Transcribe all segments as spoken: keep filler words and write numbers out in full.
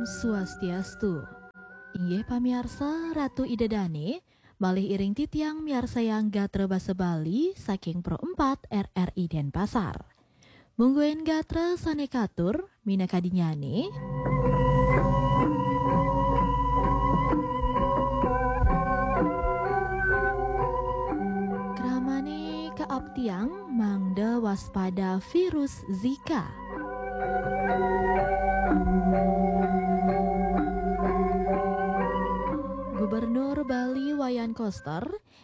Swastiastu. Inggih pamiarsa, Ratu Ida Dane, malih iring titiang miarsayang gatra basa Bali saking Pro empat R R I Denpasar. Mungguing gatra sane katur, minakadinyane. Kramane kaaptiang mangda waspada virus Zika. Gubernur Bali Wayan Koster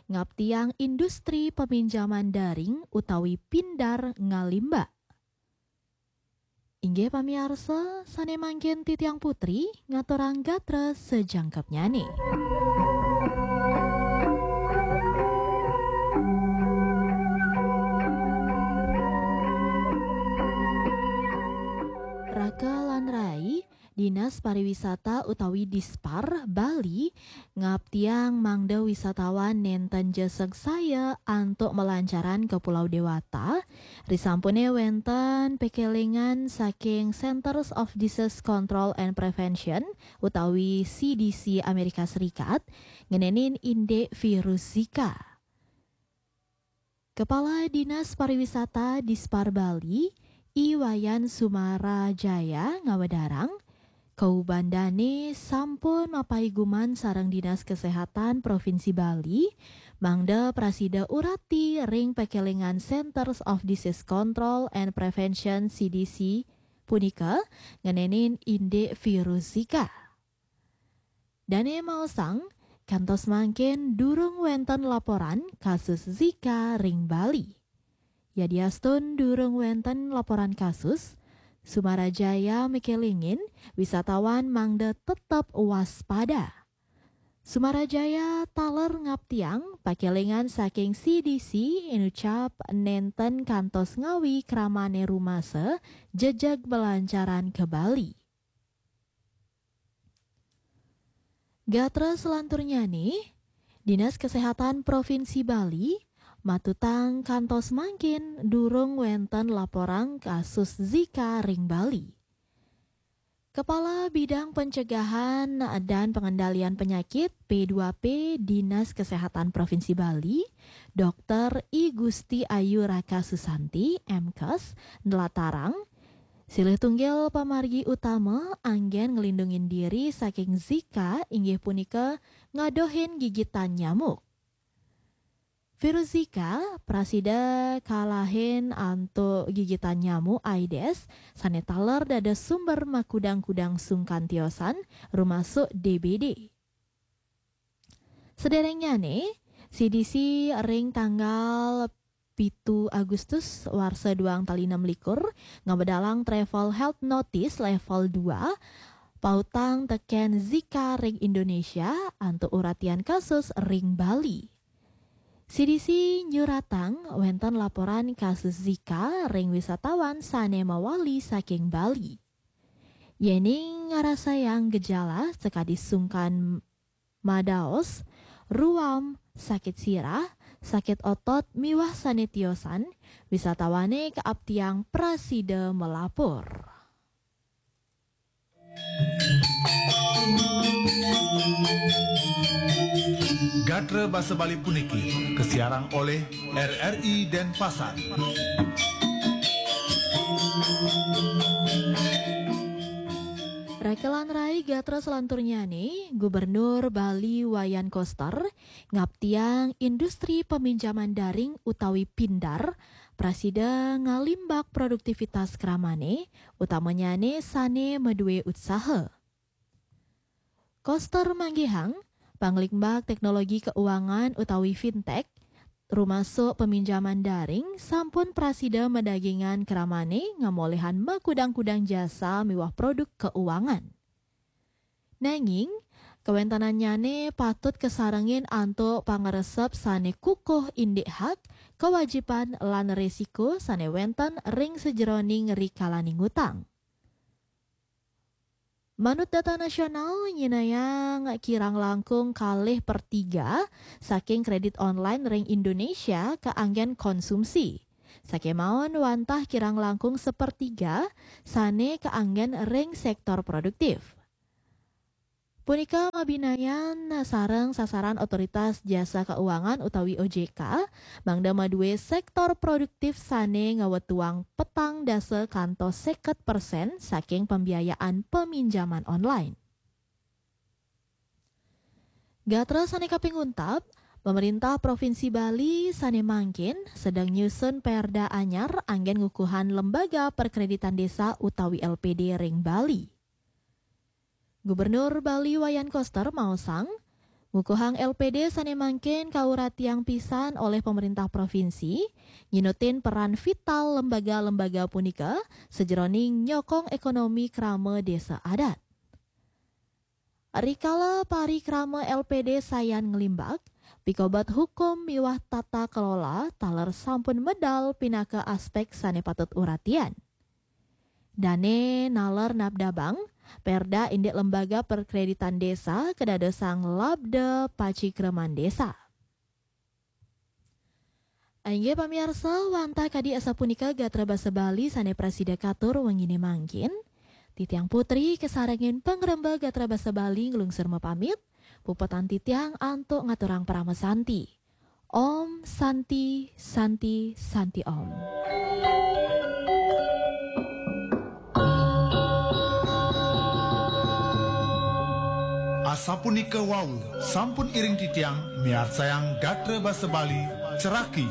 ngaptiang industri peminjaman daring utawi pindar ngalimbak. Inggih pamiarsa, sane mangkin titiang Putri ngaturang gatra sajangkepnyane. Raka lan rai, Dinas Pariwisata utawi Dispar Bali ngaptiang mangda wisatawan nenten ja sangsaya antuk malancaran ka Pulau Dewata, risampune wenten pekelingan saking Centers of Disease Control and Prevention utawi C D C Amerika Serikat ngenenin indik virus Zika. Kepala Dinas Pariwisata Dispar Bali, I Wayan Sumarajaya ngawedarang, kaubandane sampun mapaiguman sareng Dinas Kesehatan Provinsi Bali, mangda prasida urati ring pekelingan Centers of Disease Control and Prevention, C D C, punika ngenenin indik virus Zika. Dane maosang, kantos mangkin durung wenten laporan kasus Zika ring Bali. Yadiastun durung wenten laporan kasus, Sumarajaya mekelingin wisatawan mangda tetep waspada. Sumarajaya taler ngaptiang pakelingan saking C D C inucap nenten kantos ngawi kramane rumasa jejeg belancaran ke Bali. Gatra selanturnyane, Dinas Kesehatan Provinsi Bali matutang kantos mangkin durung wenten laporan kasus Zika ring Bali. Kepala Bidang Pencegahan dan Pengendalian Penyakit P dua P Dinas Kesehatan Provinsi Bali, Dokter I Gusti Ayu Raka Susanti, M Kes, nlatarang, silih tunggil pamargi utama anggen nglindungin diri saking Zika inggih punika ngadohin gigitan nyamuk. Virus Zika prasida kalahin antuk gigitan nyamuk Aedes sane taler dados sumber makudang-kudang sungkan tiosan, rumasuk D B D. Sederengnyane, C D C ring tanggal pitu Agustus warsa duang tali enam likur ngabedalang travel health notice level dua, pautang teken Zika ring Indonesia antuk uratian kasus ring Bali. C D C nyuratang wenten laporan kasus Zika ring wisatawan sane mawali saking Bali. Yening ngrasayang gejala sakadi sungkan madaos, ruam, sakit sirah, sakit otot miwah sane tiosan, wisatawane kaaptiang prasida melapor. Gatra basa Bali puniki kasiarang olih R R I Denpasar. Raka lan rai, gatra selanturnyane, Gubernur Bali Wayan Koster ngaptiang industri peminjaman daring utawi pindar prasida ngalimbak produktivitas kramane, utamanyane sane madue utsaha. Koster manggihang, panglimbak teknologi keuangan utawi fintech, rumasuk peminjaman daring, sampun prasida madagingang kramane ngamolihang makudang-kudang jasa miwah produk keuangan. Nanging, kawentenannyane patut kasarengin antuk pangresep sane kukuh indik hak, kawajiban, lan resiko sane wenten ring sajeroning rikalaning utang. Manut data nasional, nyinayang kirang langkung kalih per tiga saking kredit online ring Indonesia kaanggen konsumsi. Sakemaon wantah kirang langkung sepertiga sane kaanggen ring sektor produktif. Punika mabinayan sareng sasaran Otoritas Jasa Keuangan utawi O J K, mangda madué sektor produktif sané ngawetuang petang dasa kantos seket persen saking pembiayaan peminjaman online. Gatra sané kaping untat, pemerintah Provinsi Bali sané mangkin sedang nyusun perda anyar anggén ngukuhan lembaga perkreditan desa utawi L P D ring Bali. Gubernur Bali Wayan Koster maosang, ngukuhang L P D sané mangkin kauratiang pisan oleh pemerintah provinsi, nyinutin peran vital lembaga-lembaga punika sajeroning nyokong ekonomi krama desa adat. Rikala parikrama L P D sayan nglimbak, pikobet hukum miwah tata kelola taler sampun medal pinaka aspek sané patut uratian. Dané naler nabdabang, Perda indik lembaga perkreditan desa kadadosang labda pacikreman desa. Inggih pamiarsa, wantah kadi asapunika gatra basa Bali sané prasida katur wenginé mangkin. Titiang Putri kasarengin pangrembag gatra basa Bali nglungsur mapamit. Puputang titiang antuk ngaturang parama santi. Om Santi, Santi, Santi Om. Asapunika wau, sampun iring titiang miarsayang gatra basa Bali, ceraki